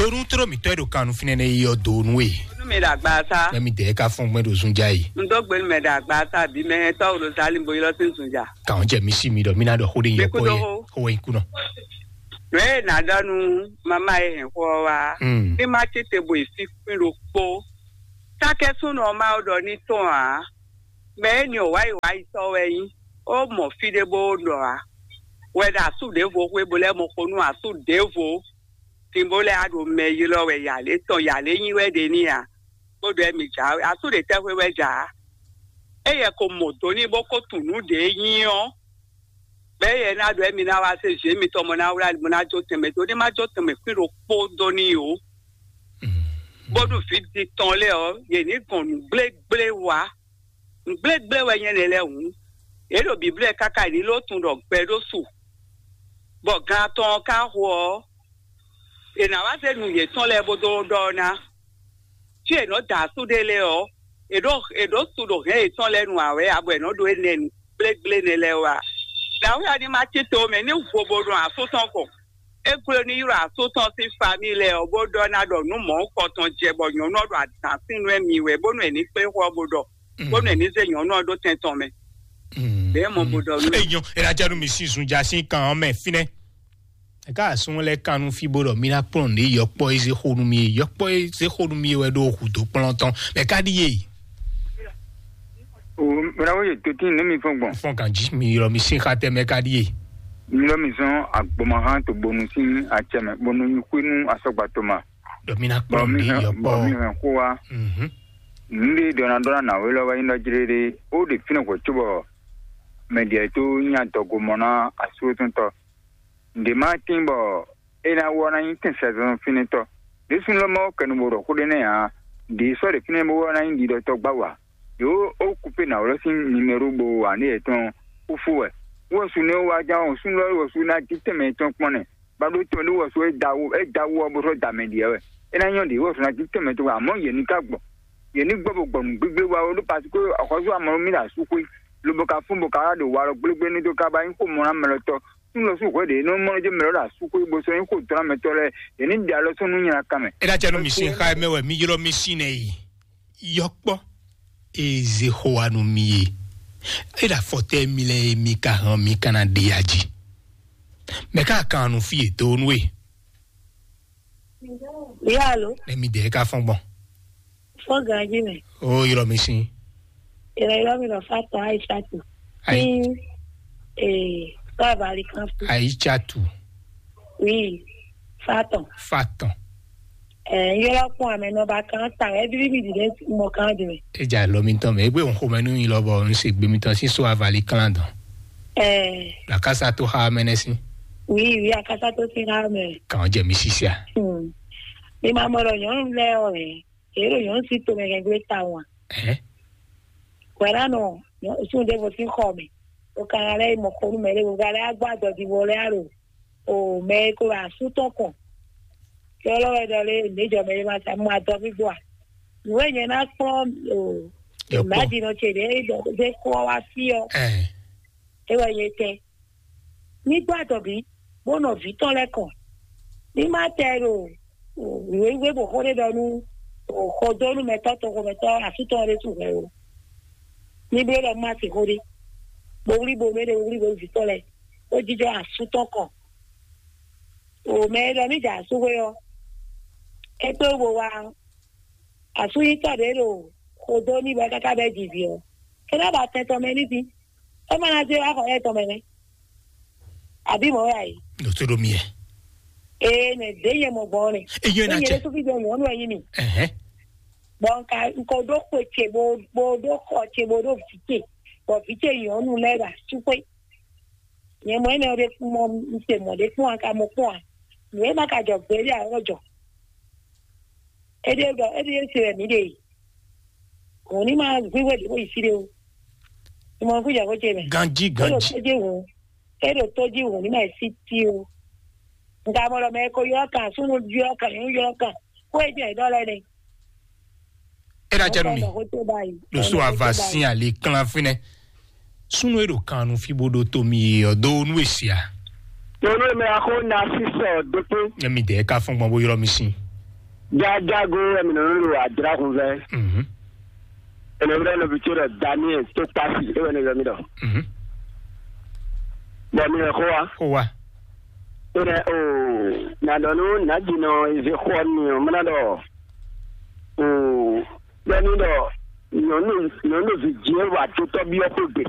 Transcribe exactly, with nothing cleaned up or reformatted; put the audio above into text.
Ɖo nú tló mǐtɔn e ɖo kan nú fínɛ́ nɛ́ yi ɔ́ do nú we. Nú mi ɖo agba sá. Mɛ mi dɛɛ ka fɔ́n gbɛn ɖo zunjá yi. Un dó gbe nú mɛ ɖo agba sá bí mɛ tɔ́ ɖo Zali bo ylɔ́ sín zunjá. Kàn jɛ mi sí mi ɖɔ mi ná ɖɔ xó ɖé nyɔ kpɔ́ yɛ. Xó wɛ nyí kú nɔ. Nǔ e nǎ ɖɔ nú mama e hɛn xó ɔ́ wá. Mm. Ní má tete bo yi fí kpín ɖokpó. Sákɛ́súnɔ Mawu ɖɔ ní tɔn ǎ. Mɛ énɛ́ ɔ́ wǎyiwáyi sɔ́ wɛ nyí. Ó mɔ fí ɖé bó ɖɔ ǎ. Wɛ ɖo asú ɖěvo xwé bo lɛ́ mɔ xo nú asú ɖěvo. Din bó lɛ́ á ɖo mɛ ylɔ́ wɛ yǎlé tɔn yǎlé nyi wɛ ɖe n'i ǎ. Bó ɖɔ émí jǎwe. Asú ɖě tɛ́ xwé wɛ jǎ? Éyɛ ko mɔ do n'i bó ko tunwun nǔ ɖě nyí ɔ́. Bɛ́ yɛ ná ɖɔ émí ná wá zé zě mitɔn mɔ ná wlá mo ná jó tɛnmɛ dó ní má jó tɛnmɛ kwín ɖokpó dó n'i ó. Bónú vǐ din tɔn lɛ́ɛ ɔ́, yě ní gɔn nǔ gblégblé wá. Nǔ gblégblé wɛ nyɛ nɛ́ lɛ́ɛ hǔn. Yě ɖo Bǐblɛ́ káká yě ní ló tunwun ɖɔ gbɛ ɖó su. Bɔ gan atɔn ɔ́ ka xo ɔ́, è nǎ wá zé nǔ yětɔn lɛ́ɛ bó dó ɖɔ ná. Fí è nɔ da asú ɖé lɛ́ɛ ɔ́, è ɖǒ è ɖǒ su ɖo hɛ̌n yětɔn lɛ́ɛ nu ǎ wɛ abo è nɔ ɖó énɛ́ nu gblégblé nɛ́ lɛ́ɛ wá. Dǎwe ɔ́ ní má cí to mɛ ní vo bo ɖo asú tɔn kɔn. É gló ní ylɔ́ asú tɔn sín famíi lɛ́ɛ ɔ́, bó ɖɔ ná ɖɔ nǔ mɔ̌hunkɔtɔn jɛ bɔ nyɔ̌nu ɔ́ ɖo adǎn sín nú émí wɛ, bónú è ní kplé xó ɔ́ bó ɖɔ, bónú è ní zé nyɔ̌nu ɔ́ ɖó tɛn tɔn mɛ. Bɛ̌ mɔ bó ɖɔ nú. Enyɔ, ela janu mi sin zun ja sin kan ɔ́ mɛ fínɛ́. Eka asún lɛ kan nú fí bó ɖɔ mi ná kplɔ́n ní yɔkpɔ e zé xó nú mi, yɔkpɔ e zé xó nú mi wɛ ɖo hǔ dó kplɔ́n tɔn. Mɛ ka ɖíe? O mìɖawo yě tòtín nú mi fɔn gbɔn. Fɔn kan jí mi ylɔ mi sín xá tɛ mɛ ka ɖíe? Mi lɔ mi zɔn agbɔmahán to bonu sín acɛ mɛ bonu nyi xwé nú asɔgba toma. Ɖɔ mi ná kplɔ́n ní yɔkpɔ. Bɔ mi hɛn xó wa. Mhm. Nǔɖé ɖɔ na ɖɔ na nǎwe lɔ wɛ nyí ɖɔ jlé ɖé ó ɖe fínɛ́ hwɛ̌ cóbɔ mɛ ɖě tó nyí adɔgo mɔ ná asúwétɔntɔ. Nǔɖé má tín bɔ é ná wɔ ná nyí tɛn sɛzɔn fínɛ́tɔ́. Ɖésú lɔ mɔ kɛnu bo ɖɔ xó ɖé nɛ́ ǎ. Ɖě sɔ́ ɖě fínɛ́ bó wɔ ná nyí ɖiɖɔtɔ́ gbá wa. Yǒ ó kúpe nǎwlɔ́ sín nimero bo wa ní yětɔn kúfú wɛ. Wɔ su nɛ́ wá ján ɔ́, súnnu lɔ wɔ su ná jí tɛnmɛ tɔn kpɔ́n nɛ. Ba ɖó tɔn ɖé wɔ su é da wú é da wú ɔ́ bó sɔ́ da mɛ ɖiɛ wɛ. É ná nyɔ́ ɖě wɔ su ná jí tɛnmɛ tɔn wɛ, àmọ́ yě ní ká gbɔ. Yě ní gbɔ bo gbɔ nǔ gbígbé wa ó ɖó parce que axɔ́sú amɔ mì ɖo asú xwé. Lobo ka fún bo ka wá ɖo walɔ gblégbé ní dó ka ba nyí xó mɔ ná mɛ lɔ tɔn. Súnnu lɔ sú hwɛ ɖě nɔ mɔ jɛ mɛ lɔ ɖo asú xwé bo sɔ́ nyí xó dɔn mɛ tɔn lɛ́ɛ. Yě ní ɖe alɔ sɔ́ nú nyina kan mɛ. É ná jɛ nú mi sín xá mɛ wɛ mi ylɔ́ mi sín nɛ yi. Yɔkpɔ e zé xó wa nú mi e. É ɖo afɔtɛ́ mi lɛ́ɛ e mi ka hɛn mi ka ná ɖe ya jí. Mɛ ka kan nu fí e do nú e. Yalo. Ne mi dɛ ka fɔn gbɔn. Fɔn ganji mɛ. O ylɔ mi sin. Ylɔ ylɔ mi lɔ fa tɔ ayi satu. Ayi. Ee, fa bali kan fu. Ayi satu. Oui, fa tɔ. Fa tɔ. Ɛɛ, yɔrɔ kún amɛ nɔ ba kan ta, ɛbí mi di ɖe mɔ kan di mɛ. Eja lɔ mi tɔn mɛ, egbe n xomɛ nu yin lɔ bɔ n se gbe mi tɔn si so avali kan dɔn. Ɛɛ. Lakasa to xa mɛ nɛ si. Oui, oui, akasa to si xa mɛ. Kan jɛ mi sisia. Hmm. Mi ma mɔ ɖɔ nyɔnu lɛ ɔ hɛ. Èrò yɔn si to mɛ gɛgbe ta wa. Ɛhɛ. Kwɛra nɔ sun ɖe vo sin xɔ mɛ. O kan lɛ mɔ xonu mɛ ɖe vo ga lɛ agba dɔ di vo lɛ alo. O mɛ ko wa su tɔn kɔn. Kɛ lɔ wɛ dɔ le ne jɔ mɛ ma sa mu adɔ mi gbɔ a. Nue nyɛ na kplɔn o. Yɔkpɔ. Imagine ce ɖe ɖe ko wa fi ɔ. Ɛhɛ. E wɛ ye tɛ. Ní gbɔ adɔbí, bó nɔ vǐ tɔn lɛ́ɛ kɔn. Ní má tɛ ɖo wěwé bó xó ɖé ɖɔ nú xɔdónúmɛtɔ́ toxomɛtɔ́ asútɔn ɖé su hwɛ o. Ní bló ɖɔ má se xó ɖé. Bo wlí bo mɛ ɖé wlí bo vǐ tɔn lɛ́ɛ, bó jijɔ asútɔn kɔn. O mɛ e ɖɔ ní jɛ asúxwé ɔ́, é kpé wú bo wá asúnyítɔ́ ɖě ɖo xodó ní bɔ é káká bɛ́ jivǐ ɔ́, é ná ba tɛn tɔn mɛ ní dín. É ma ná zé wá xɔ yɛ tɔn mɛ nɛ́. Àbí mɔ̌ wɛ a yě? Ɖo tó ɖo mi yɛ. Ee, nɛ ɖě nyɛ mɔ gbɔn nɛ. Eyɔn na Nyɛ cɛ. Ɖésú fí jɔ nyɔ̌nu wɛ nyí mi. Ɛhɛn. Bɔ nka nko ɖó xwe ce bo bo ɖó xɔ ce bo ɖó vǐ ce, bɔ vǐ ce nyɔ̌nu lɛ́ɛ ɖo asúxwé. Nyɛ mɔ énɛ́ ɖé kpɔ́n mɔ un se mɔ ɖé kpɔ́n a ka mɔ kpɔ́n a? Nǔ e ma ka jɔ gbeɖé a wɔ jɔ. Éɖée ɖɔ éɖée se wɛ mǐ ɖe yi. Hǔn ní ma hwíhwɛ́ ɖě bó yi fí ɖé ó. Ìmọ̀ kú jɛ kó ce mɛ. Ganjí, ganjí. Éɖo tójí hǔn. Éɖo tójí hǔn ní ma yi sí tí ó. Nka mɔ ɖɔ mɛ ko ylɔ́ kan, súnnu ylɔ́ kan, nyɔ̌nu ylɔ́ kan. Kó e jɛ ɖɔ lɛ nɛ. Éɖa jɛ nú mi. Kó tó báyìí. Ɖo so ava sín ali klán fínɛ́. Súnnu e ɖo kan nu fí bó ɖó tó mi ɔ́ dó nú èsì a? Nyɔnu e mɛ axó na sísɔ dókpé. Nyɛ mi dɛ ka fɔn gbɔn bó ylɔ́ mi sín. Jajago wɛ mi nɔ ɖo adra hun vɛ. Mhm. Ene wɛ nɔ bi tso ɖɔ Daniel to kpasi e wɛ ne yɔ mi ɖɔ. Mhm. Bɔn mi nɔ xo wa. Xo wa. Ene o na ɖɔ nu na di nɔ eze xɔ ni o mena ɖɔ o bɛ mi ɖɔ nyɔnu nyɔnu vi die wa to tɔ bi ɔkɔ gbe.